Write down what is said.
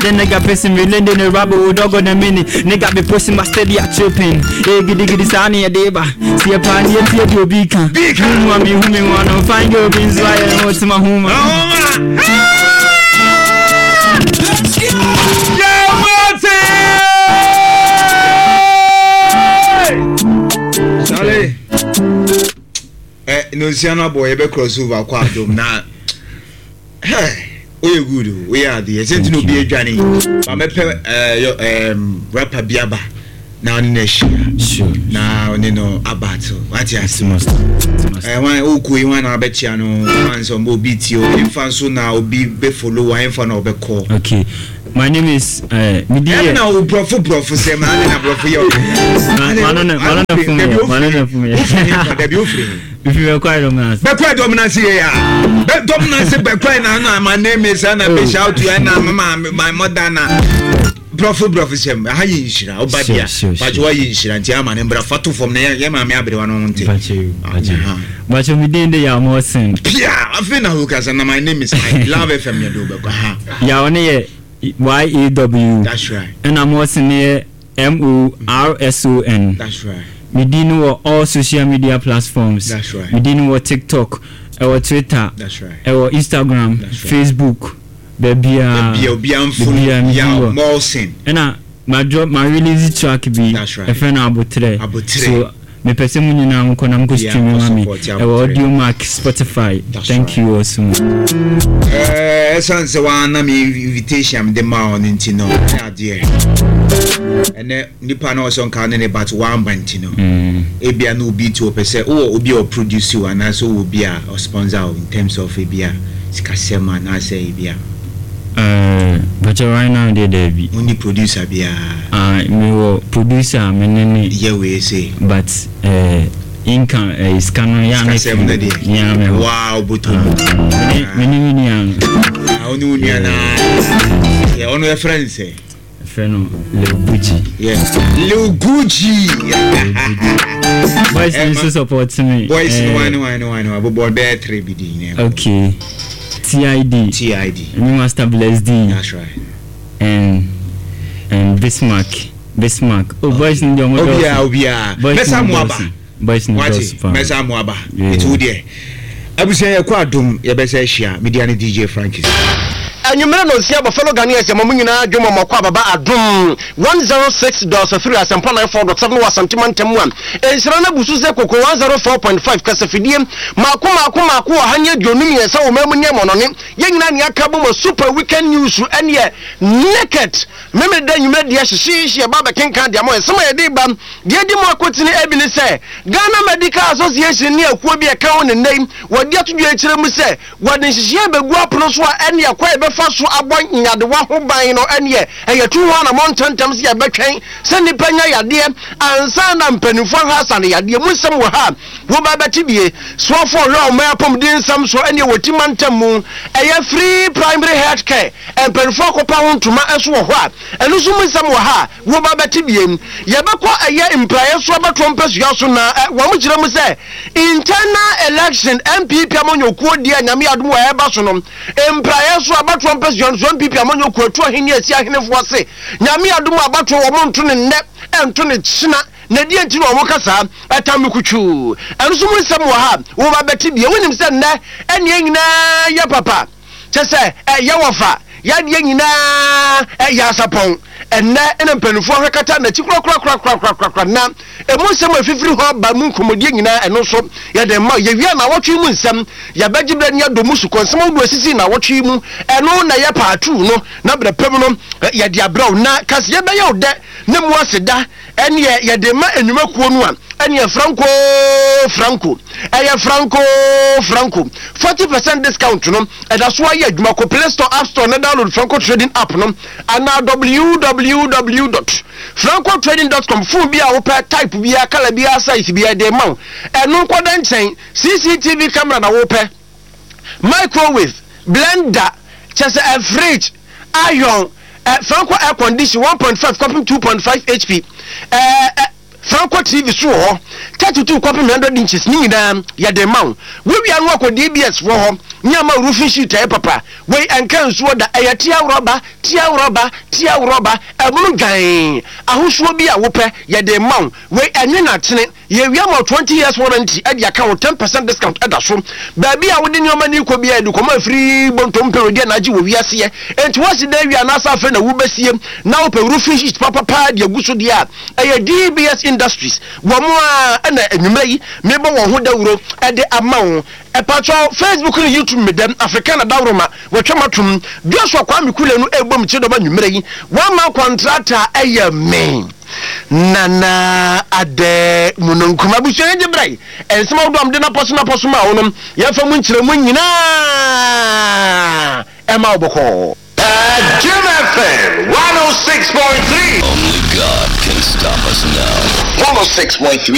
The nigga pissing me, lending the rubber with dog on the mini. Nigga be pushing my steady at tripping. Hey, giddy giddy sani a deba. See a pan yet here to be can. Who me, who me want to find your beans, why I want to my home. Charlie. Eh, no nsia no abɔ yɛbɛ cross over kɔ adom na Hey, woyɛ good o, woyɛ adeɛ. Sɛ nti na obi adwane. Ba mɛpɛ eh, um, rapper bi aba na ɔne no ahyia. Sure. Na ɔne no abattle. Wate ase? Eh, wan wokɔ yi wan na wabɛkyia no, wan sɛ ɔmbɔ obi tie o. Ɛmfa nso na obi bɛfollow wa, ɛmfa na ɔbɛkɔ. Okay. My name is uh, Midi. Ɛna na wo brɔfo brɔfo sɛ ma na brɔfo yɛ ɔyɛ. Mano na mano na fún mi yɛ. Mano na fún mi yɛ. Dabi ofiri he. Mfiri bɛkwae dɔm no ase. Bɛkwae dɔm no ase yɛ ya. Bɛ dɔm no ase bɛkwae na na my name is na be oh. shout to na my my mother na. Brɔfo brɔfo sɛm aha yɛ nhyira ɔba bia bàtɛ wa yɛ nhyira nti ama ne mbra fa to fam na yɛ maame aberewa no ho nte. Bàtɛ mi din de Yaw Morrison. Pia afei na ho kasa na my name is I love FM yɛ de wobɛkɔ ha. Yaw ne yɛ Y A W. That's right. Ɛna Morrison ne yɛ M O R S O N. That's right. Me din no wɔ all social media platforms. That's right. Me din no wɔ TikTok, ɛwɔ Twitter, That's right. ɛwɔ Instagram, That's right. Facebook, baabiara. Baabiara obiara mfo no Baabiara me din Yaw wɔ. Morrison. Ɛna ma drop ma release track bi. That's right. Ɛfrɛ no Abotrɛ. Abotrɛ. So mepɛ sɛ mo nyinaa mokɔ na mokɔ Yeah, stream mokɔ ma me. support Ɛwɔ Abotrɛ. Audiomack, Spotify. That's Thank right. you all so much. Ɛɛ ɛsan sɛ wɔn me invitation a mede maa wɔn nti no ɛyɛ adeɛ ɛnɛ nipa na ɔsɛ nka ne ne but wamba nti no mm. ebia na obi ti ɔpɛ sɛ wowɔ obi a ɔproduce wo anaasɛ wowɔ obi a ɔsponsor wo in terms of ebia sikasɛm anaasɛ ebia. Uh, but right now deɛ daabi. Wonni producer biara? Uh, mewɔ producer a me ne ne. Yɛ wei se. But uh, Inka eh, sika no yɛ ana Sikasɛm no deɛ. Nea me hɔ. Wow, bɔtɔ mu. Ah, me ne me nua no. Ah, wo ne wo nua na. Yeah, ɔno yɛfrɛ no sɛ. Yɛfrɛ no Lil Gucci. Yeah. Lil Gucci. Boys no nso support me. Boys no one one one one. Bobɔ bɛyɛ three bi di. Okay. TID. TID. Me Master Bless D. That's right. And and Bismarck. Bismarck. Oh, boys no deɛ ɔmo dɔɔso. Obiara obiara. Mɛsa mo aba. Boys no Wate, dɔɔso paa. mɛsa mo aba. Yeah. Nti wo deɛ. Abusua yɛkɔ adom yɛbɛsa ahyia. Media ne DJ Frankis. Anwummere nonsia bɔ fellow Ghanaians yɛma mo nyinaa dwom ɔmɔkɔ ababa adom 106.3 asɛmpa 94.7 wɔ Asante mantam mu a nhyira no abu so sɛ koko 104.5 kasafidie maako maako maako 123 wɔ man mu ne amɔnɔne yɛn nyinaa ne aka bom a super weekend news ɛneɛ naked Memeneda anwummerɛ deɛ hyehyeehye ɛba abɛkenkan de ama wo. Nsɛm a yɛde reba deɛ adi mu akotene bi ne sɛ, Ghana Medical Association ne akuo bi a ɛka ho ne nnɛ yi wɔde ato dwa akyerɛ mu sɛ wɔde nhyehyɛeɛ bɛgu apono so a ɛneɛ kwan a yɛbɛfa so abɔ nyadewa ho ban no ɛneɛ ɛyɛ tu ho anamɔ ntɛmntɛm sɛ yɛbɛtwɛn sɛ nnipa nya yadeɛ ansa na mpanimfoɔ ahwɛ asa no yadeɛ mu nsɛm wɔ ha a woba bɛte bie. Soafoɔ ɔhwɛ ɔman apɔmuden nsɛm so ɛneɛ wɔ ti mantam mu ɛyɛ free primary health care Mpanyinfoɔ akɔpa ho ntoma nso wɔ hɔ a, ɛno nso mu nsɛm wɔ ha a woba bɛte biem. Yɛbɛkɔ ɛyɛ mpraeɛ so abatoɔ mpasua so na wɔn kyerɛ mu sɛ internal election NPP amanyɔkuo deɛ Nyame adom wɔ ɛreba so no mpraeɛ so abatoɔ mpasua no so NPP amanyɔkuo atu ahene asi ahenefoɔ se Nyame adom abatoɔ wɔn nto ne nnɛ ɛnto ne kyena na deɛ nti na wɔn ka saa ɛtam no kutwuu ɛno nso mu nsɛm wɔ ha a woba bɛte biem. Wonim sɛ nnɛ ɛneɛ nyinaa yɛ papa. Kyɛ sɛ ɛyɛ wɔfa yadeɛ nyinaa ɛyɛ asapɔn. Ɛnnɛ na mpanimfoɔ ahwɛ kata n'akyi korakorakorakorakorakora na ɛmu nsɛm a ɛfifiri hɔ ba mu nkɔmmɔdie nyinaa ɛno nso yɛde ma. Yɛwie a naawɔtwe yi mu nsɛm yɛbɛgye berɛ ne yɛadɔ mu sukɔ nsɛm ahodoɔ asisi naawɔtwe yi mu ɛno na ɛyɛ paatuu no na berɛ pɛ mu no yɛde abrɛ wo na kaseɛ bɛyɛ wo dɛ ne mu aseda Ɛneɛ yɛde ma nnwuma kuo no a, ɛneɛ Franco Franco, ɛyɛ Franco Franco. 40% discount no, ɛda so ayɛ adwuma. Kɔ Play Store, App Store na download Franco Trading app no anaa www dot francotrading dot com. Phone bi a wopɛ, type biara, colour biara, size biara, yɛde rema wo. Ɛno nkɔda nkyɛn, CCTV camera na wopɛ, microwave, blender, kyerɛ sɛ ɛ fridge, iron, ɛ Franco air condition 1.5 kɔpem 2.5 HP, ɛ ɛ Franco TV so wɔ hɔ, 32 kɔpem 100 inches ne nyinaa yɛde ma wo. Wowia no akɔ DBS foɔ hɔ. Ne ama roofing sheet a ɛyɛ papa. Wei ɛnka nsuo da, ɛyɛ tea rɔba, tea rɔba, tea rɔba, ɛmono dwann. Ahosuo bi a wopɛ, yɛde rema wo. Wei ɛnwe na atene. Yɛwia ma wo 20 years warranty de aka ho, 10% discount da so. Baabi a wode nneɛma no rekɔ biara, yɛde kɔma afiri bontom pɛ wedeɛ na agye wɔ wiaseɛ. Enti woasi dan awie anaasɛ afei na wobɛsie na wopɛ roofing sheet papa paa de agu so deɛ a, ɛyɛ DBS Industries. Wɔn ara na anwummerɛ yi mebɔ wɔn ho dawuro de ama wo. Ɛpakyɛw, Facebook ne YouTube me dɛm, Africana Dawuroma, wɔatwa m'atom. Joshua Kwame Kule no rebɔ me kyidɔm anwummerɛ yi. Wama kɔntrata ɛyɛ me. Nana Adɛ Mununkum. Abusua yɛn gye brɛ. Nsɛm ahodoɔ a mede napɔso napɔso maa wo no, yɛmfa mu nkyerɛmu nyinaa ɛma wo bɔkɔɔ. Jim FM 106.3. Only God can stop us now. 106.3.